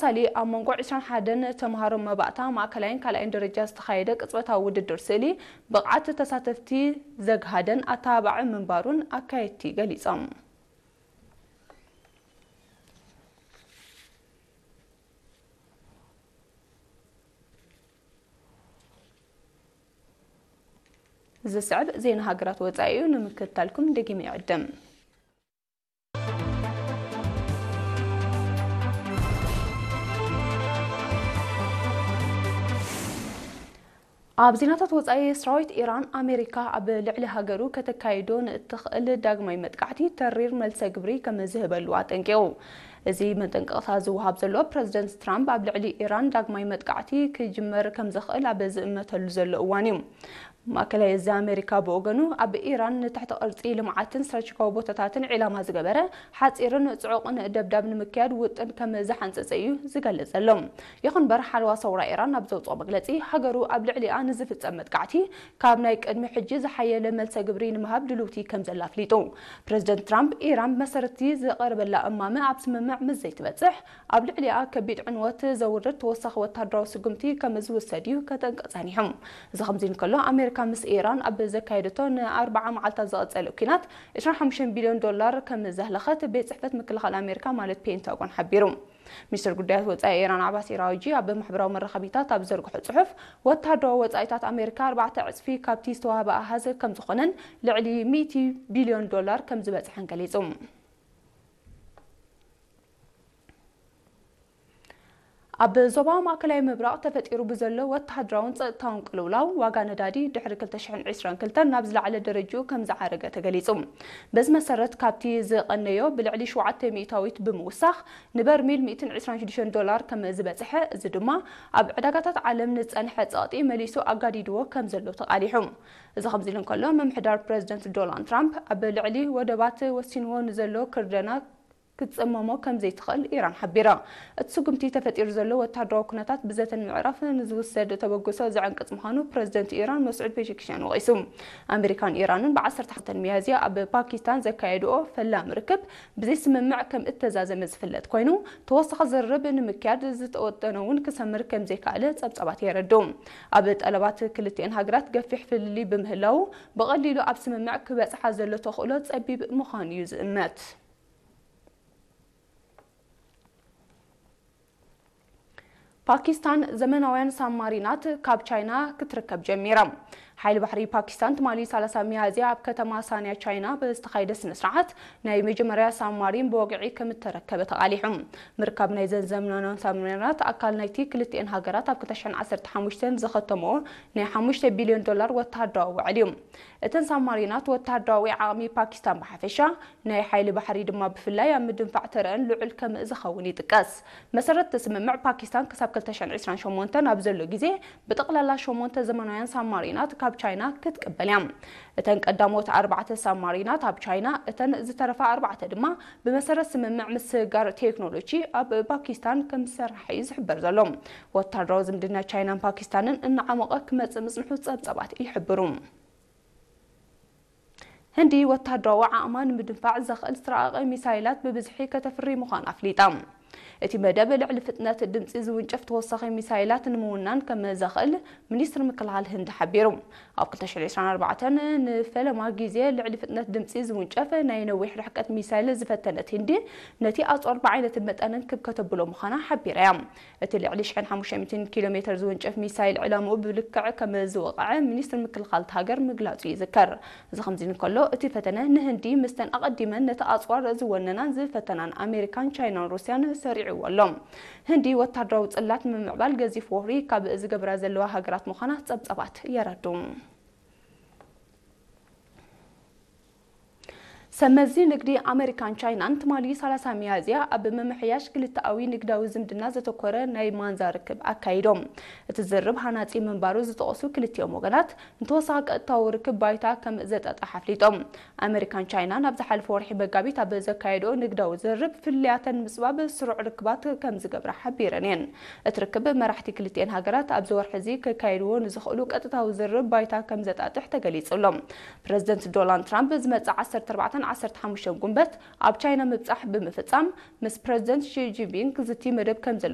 ሳሊ ኣብ መንጎ ዕስራን ሓደን ተምሃሮ መባእታ ማእከላይን ካልኣይን ደረጃ ዝተኻየደ ቅጽበታዊ ውድድር ስእሊ ብቕዓት ተሳተፍቲ ዘግሃደን ኣተባባዒ ምንባሩን ኣካየድቲ ገሊጾም። ዝስዕብ ዜና ሃገራት ወጻኢ እዩ፣ ንምክትታልኩም ደጊመ ይዕድም። ኣብ ዜናታት ወጻኢ፣ ሰራዊት ኢራን ኣሜሪካ ኣብ ልዕሊ ሃገሩ ከተካይዶ ንእትኽእል ዳግማይ መጥቃዕቲ ተሪር መልሰ ግብሪ ከም ዝህበሉ ኣጠንቂቑ። እዚ መጠንቀቕታ ዝወሃብ ዘሎ ፕረዚደንት ትራምፕ ኣብ ልዕሊ ኢራን ዳግማይ መጥቃዕቲ ክጅመር ከም ዝኽእል ኣብ ዝእመተሉ ዘሎ እዋን እዩ። ማእከላይ እዚ ኣሜሪካ ብወገኑ ኣብ ኢራን ንትሕቲ ቅርጺ ልምዓትን ስትራቴጂካዊ ቦታታትን ዒላማ ዝገበረ ሓጺርን ጽዑቕን ደብዳብ ንምክያድ ውጥን ከም ዝሓንጸጸ እዩ ዝገልጽ ዘሎ። ይኹን እምበር ሓለዋ ሰውራ ኢራን ኣብ ዘውፅኦ መግለጺ ሃገሩ ኣብ ልዕሊኣ ንዝፍጸም መጥቃዕቲ ካብ ናይ ቅድሚ ሕጂ ዝሓየለ መልሰ ግብሪ ንምሃብ ድልውቲ ከም ዘላ ኣፍሊጡ። ፕረዚደንት ትራምፕ ኢራን ብመሰረትቲ ዝቐረበላ እማመ ኣብ ስምምዕ ምስ ዘይትበጽሕ ኣብ ልዕሊኣ ከቢድ ዕንወት ዘውርድ ተወሳኺ ወታደራዊ ስጉምቲ ከም ዝውሰድ እዩ ከጠንቅቕ ጸኒሑ። እዚ ከምዚ እንከሎ ኣሜሪካ ምስ ኢራን ኣብ ዘካየደቶ ንኣርባዓ መዓልታት ዝቐጸለ ኲናት ዕስራን ሓሙሽተን ቢልዮን ዶላር ከም ዘህለኸት ቤት ጽሕፈት ምክልኻል ኣሜሪካ ማለት ፔንታጎን ሓቢሩ። ሚኒስትር ጉዳያት ወጻኢ ኢራን ዓባስ ኢራውጂ ኣብ ማሕበራዊ መራኸቢታት ኣብ ዘርግሖ ጽሑፍ ወታደራዊ ወጻኢታት ኣሜሪካ ኣርባዕተ ዕጽፊ ካብቲ ዝተዋህበ ኣሃዝ ከም ዝኾነን ልዕሊ ሚእቲ ቢልዮን ዶላር ከም ዝበጽሐን ገሊጹ። ኣብ ዞባ ማእከላይ ምብራቕ ተፈጢሩ ብዘሎ ወተሃደራውን ጸጥታውን ቅልውላው ዋጋ ነዳዲ ድሕሪ ክልተ ሽሕን ዕስራን ክልተን ናብ ዝለዓለ ደረጅኡ ከም ዝዓረገ ተገሊጹ። በዚ መሰረት ካብቲ ዝቐነዮ ብልዕሊ ሸውዓተ ሚእታዊት ብምውሳኽ ንበርሚል ሚእትን ዕስራን ሽዱሽተን ዶላር ከም ዝበጽሐ፣ እዚ ድማ ኣብ ዕዳጋታት ዓለም ንጸንሐ ጸቕጢ መሊሱ ኣጋዲድዎ ከም ዘሎ ተቓሊሑ። እዚ ከምዚ ኢሉ እንከሎ፣ ምምሕዳር ፕረዚደንት ዶናልድ ትራምፕ ኣብ ልዕሊ ወደባት ወሲንዎ ንዘሎ ክርደና ክትጽመሞ ከም ዘይትኽእል ኢራን ሓቢራ። እቲ ስጉምቲ ተፈጢሩ ዘሎ ወታደራዊ ኩነታት ብዘተ ንምዕራፍ ንዝውሰድ ተበግሶ ዝዕንቅጽ ምዃኑ ፕረዚደንት ኢራን መስዑድ ፔዜሽኪያን ወቒሱ። ኣሜሪካን ኢራንን ብዓሰርተ ሓሙሽተ ሚያዝያ ኣብ ፓኪስታን ዘካየድኦ ፈላሚ ርክብ ብዘይስምምዕ ከም እተዛዘመ ዝፍለጥ ኮይኑ፣ ተወሳኺ ዝርርብ ንምክያድ ዝተወጠነ እውን ክሰምር ከም ዘይከኣለ ጸብጻባት የረድኡ። ኣብ ጠለባት ክልቲኤን ሃገራት ገፊሕ ፍልልይ ብምህላዉ፣ ብቐሊሉ ኣብ ስምምዕ ክበጽሓ ዘሎ ተኽእሎ ጸቢብ ምዃኑ እዩ ዝእመት። ፓኪስታን ዘመናውያን ሳብማሪናት ካብ ቻይና ክትርከብ ጀሚራ። ሓይሊ ባሕሪ ፓኪስታን ትማሊ ሰላሳ ሚያዝያ ኣብ ከተማ ሳንያ ቻይና ብዝተኻየደ ስነ ስርዓት ናይ መጀመርያ ሳብማሪን ብወግዒ ከም እተረከበ ተቓሊሑ። ምርካብ ናይዘን ዘመናውያን ሳብማሪናት ኣካል ናይቲ ክልቲኤን ሃገራት ኣብ ክልተ ሽሕን ዓሰርተ ሓሙሽተን ዝኸተምኦ ናይ ሓሙሽተ ቢልዮን ዶላር ወተሃደራዊ ውዕል እዩ። እተን ሳብማሪናት ወተሃደራዊ ዓቕሚ ፓኪስታን ብሓፈሻ ናይ ሓይሊ ባሕሪ ድማ ብፍላይ ኣብ ምድንፋዕ ተረአን ልዑል ከም ዝኸውን ይጥቀስ። መሰረት እቲ ስምምዕ ፓኪስታን ክሳብ ክልተ ሽሕን ዕስራን ሸሞንተን ኣብ ዘሎ ግዜ ብጠቕላላ ሸሞንተ ዘመናውያን ሳብማሪናት ካብ ቻይና ክትቅበል እያ። እተን ቀዳሞት ኣርባዕተ ሳብማሪናት ኣብ ቻይና፣ እተን ዝተረፋ ኣርባዕተ ድማ ብመሰረት ስምምዕ ምስግጋር ቴክኖሎጂ ኣብ ፓኪስታን ከም ዝሰርሓ እዩ ዝሕበር ዘሎ። ወታደራዊ ዝምድና ቻይናን ፓኪስታንን እናዓመቐ ክመጽእ ምጽንሑ ጸብጻባት ይሕብሩ። ህንዲ ወታደራዊ ዓቕማ ንምድንፋዕ ዘኽእል ዝተራቐቐ ሚሳይላት ብብዝሒ ከተፍሪ ምዃና ኣፍሊጣ። እቲ መደብ ልዕሊ ፍጥነት ድምጺ ዝውንጨፍ ተወሳኺ ሚሳይላት ንምውናን ከም ዘኽእል ሚኒስትሪ ምክልኻል ህንዲ ሓቢሩ። ኣብ ክልተ ሽሕን ዕስራን ኣርባዕተን ንፈለማ ግዜ ልዕሊ ፍጥነት ድምጺ ዝውንጨፍ ናይ ነዊሕ ርሕቀት ሚሳይል ዝፈተነት ህንዲ፣ ነቲ ኣጽዋር ብዓይነትን መጠንን ክብ ከተብሎ ምዃና ሓቢራ እያ። እቲ ልዕሊ ሽሕን ሓሙሽተ ሚእትን ኪሎ ሜተር ዝውንጨፍ ሚሳይል ዕላምኡ ብልክዕ ከም ዝወቕዐ ሚኒስትሪ ምክልኻል እታ ሃገር ምግላጹ ይዝከር። እዚ ከምዚ እንከሎ፣ እቲ ፈተነ ንህንዲ ምስተን ኣቐዲመን ነቲ ኣጽዋር ዝወነናን ዝፈተናን ኣሜሪካን ቻይናን ሩስያን ሰሪዕዎ ኣሎ። ህንዲ ወታደራዊ ጽላት ንምምዕባል ገዚፍ ወፍሪ ካብ ዝገብራ ዘለዋ ሃገራት ምዃና ጸብጻባት የረዱ። ሰመዚ ንግዲ ኣመሪካን ቻይናን ትማሊ ሰላሳ ሚያዝያ ኣብ ምምሕያሽ ክልተኣዊ ንግዳዊ ዝምድና ዘተኮረ ናይ ማንዛ ርክብ ኣካይዶም። እቲ ዝርርብ ሃናጺ ምንባሩ ዝጠቐሱ ክልቲኦም ወገናት፣ ንተወሳኺ ቀጥታዊ ርክብ ባይታ ከም ዘጣጥሕ ኣፍሊጦም። ኣመሪካን ቻይናን ኣብ ዝሓለፈ ወርሒ መጋቢት ኣብ ዘካየድኦ ንግዳዊ ዝርርብ፣ ፍልልያተን ንምጽባብ ስሩዕ ርክባት ከም ዝገብራ ሓቢረን እየን። እቲ ርክብ መራሕቲ ክልቲኤን ሃገራት ኣብዚ ወርሒ እዚ ከካይድዎ ንዝኽእሉ ቀጥታዊ ዝርርብ ባይታ ከም ዘጣጥሕ ተገሊጹ ኣሎ። ፕረዚደንት ዶናልድ ትራምፕ ዝመጽእ ዓሰርተ ኣርባዕተን ዓሰርተ ሓሙሽተን ጉንበት ኣብ ቻይና ምብጻሕ ብምፍጻም፣ ምስ ፕረዚደንት ሺ ጂንፒንግ ዝቲ መደብ ከም ዘለዎ